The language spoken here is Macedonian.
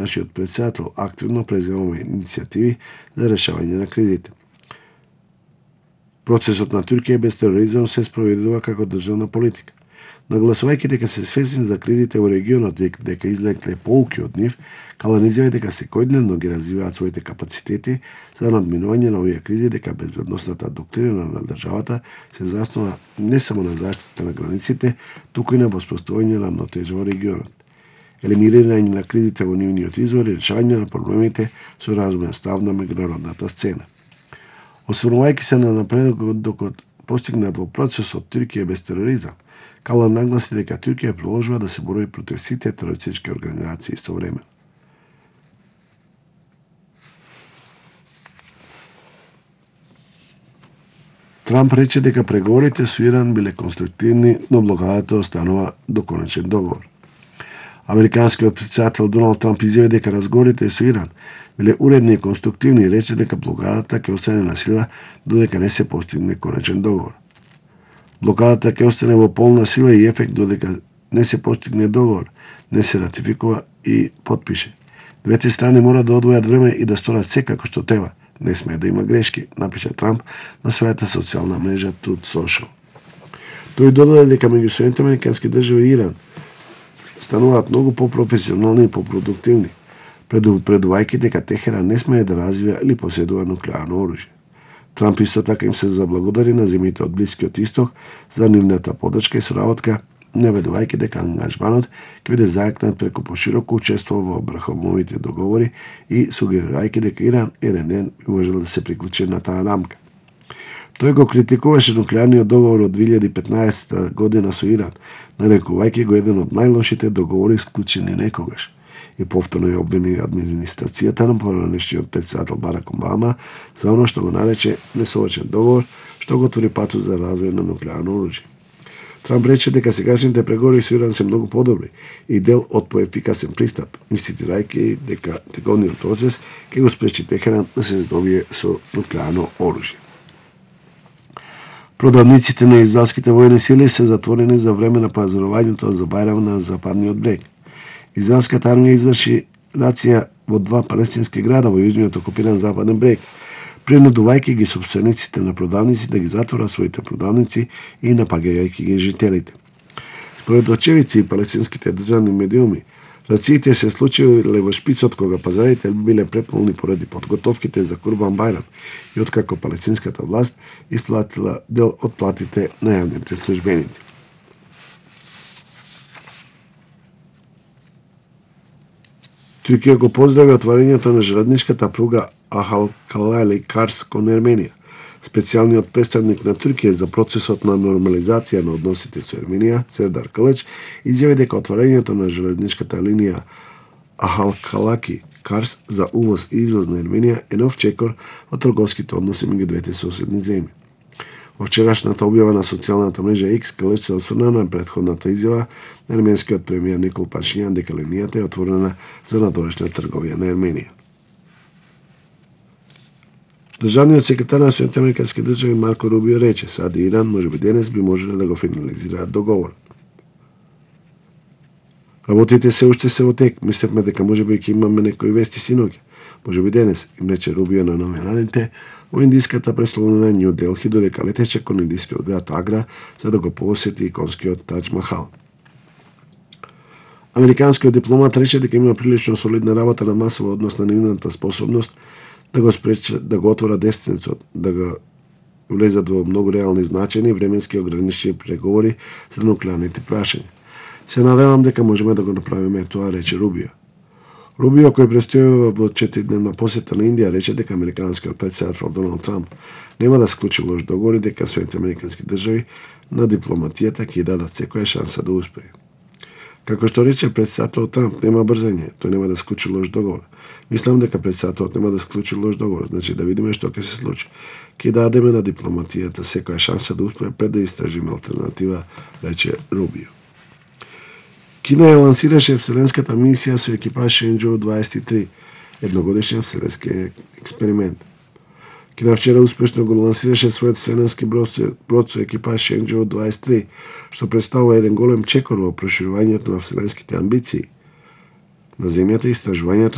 Нашиот председател активно преземува иницијативи за решавање на кризите. Процесот на Туркија без тероризам се спроведува како државна политика. Нагласувајќи дека се свесни за кризите во регионот, дека излекле поуки од нив, Калан изјави дека секојдневно ги развиваат своите капацитети за надминување на овие кризи, дека безбедносната доктрина на државата се заснова не само на заштита на границите, туку и на воспоставување на рамнотежа во регионот, елиминирање на кризите во нивниот извор и решавање на проблемите со разумен став на меѓународната сцена. Осврнувајќи се на напредокот постигнат во процесот Туркија без тероризам, Калан нагласи дека Туркија продолжува да се бори против сите терористички организации истовремено. Трамп рече дека преговорите со Иран биле конструктивни, но блокадата останува до конечен договор. Американскиот председател Доналд Трамп изјави дека разговорите со Иран биле уредни и конструктивни и рече дека блокадата ќе остане на сила додека не се постигне конечен договор. Блокадата ќе остане во полна сила и ефект додека не се постигне договор, не се ратификува и подпише. Двете страни мора да одвојат време и да сторат се како што треба. Не смее да има грешки, напиша Трамп на својата социјална мрежа Truth Social. Тој додаде дека меѓу Соединетите американски држави и Иран стануваат многу попрофесионални и попродуктивни, предувајќи дека Техеран не смее да развива или поседува нуклеарно оружје. Трамп исто така им се заблагодари на земјите од Блискиот Исток за нивната поддршка и соработка, наведувајќи дека ангажманот ќе биде зајакнат преку пошироко учество во брахомовите договори и сугерирајќи дека Иран еден ден би можел да се приклучи на таа рамка. Тој го критикуваше нуклеарниот договор од 2015 година со Иран, нарекувајќи го еден од најлошите договори склучени некогаш. И повторно ја обвини администрацијата на поранешниот председател Барак Обама за оно што го нарече несовршен договор, што го отвори патот за развој на нуклеарно оружје. Трамп рече дека сегашните преговори со Иран се многу подобри и дел од поефикасен пристап, инсистирајќи дека тековниот процес ќе го спречи Техеран да се здобие со нуклеарно оружје. Продавниците на израелските војни сили се затворени за време на пазарувањето за Бајрам на Западниот брег. Израелската армија изврши рација во 2 палестински града во јужниот окупиран Западен брег, принудувајќи ги собствениците на продавници да ги затворат своите продавници и напагајќи ги жителите. Според очевидци и палестинските државни медиуми, рациите се случиле во шпицот кога пазарите биле преполни поради подготовките за Курбан Бајрам и откако палестинската власт исплатила дел од платите на јавните службеници. Туркија го поздрави отварањето на железничката пруга Ахалкалали-Карс кон Ерменија. Специјалниот представник на Туркија за процесот на нормализација на односите со Ерменија, Сердар Калеч, изјави дека отварањето на железничката линија Ахалкалаки-Карс за увоз и извоз на Ерменија е нов чекор во трговските односи меѓу двете соседни земји. Во вчерашната објава на социјалната мрежа X, Калеч се осврна на претходната изјава на ерменскиот премиер Никол Пашињан дека линијата е отворена за надорешна трговија на Ерменија. Државниот секретар на Соединетите американски држави Марко Рубио рече: САД и Иран можеби денес би можеле да го финализираат договорот. Работите се уште се во тек. Мислевме дека можеби ќе имаме некои вести синоќа. Можеби денес, им рече Рубио на новинарите во индиската престолнина Њу Делхи, додека летеше кон индискиот град Агра за да го посети иконскиот Тадж Махал. Американскиот дипломат рече дека има прилично солидна работа на маса во однос на нивната способност да го спречат, да го отвора дестинецот, да го влезат во многу реални значени временски ограничени преговори за нуклеарните прашања. Се надевам дека можеме да го направиме тоа, рече Рубио. Рубио, кој престојува во 4-дневна посета на Индија, рече дека американскиот председател Доналд Трамп нема да склучи лош договор и дека Соединетите американски држави на дипломатијата ќе дадат секоја шанса да успее. Како што рече председател Трамп, нема брзање, тој нема да склучи лош договор. Мислам дека председателот нема да склучи лош договор, значи да видиме што ќе се случи. Ќе дадеме на дипломатијата секоја шанса да успее пред да истражиме алтернатива, рече Рубио. Кина ја лансираше вселенската мисија со екипаж Шенџоу 23, едногодишен вселенски експеримент. Кина вчера успешно го лансираше својот вселенски брод со екипаж Шенџоу 23, што представува еден голем чекор во проширувањето на вселенските амбиции на Земјата и истражувањето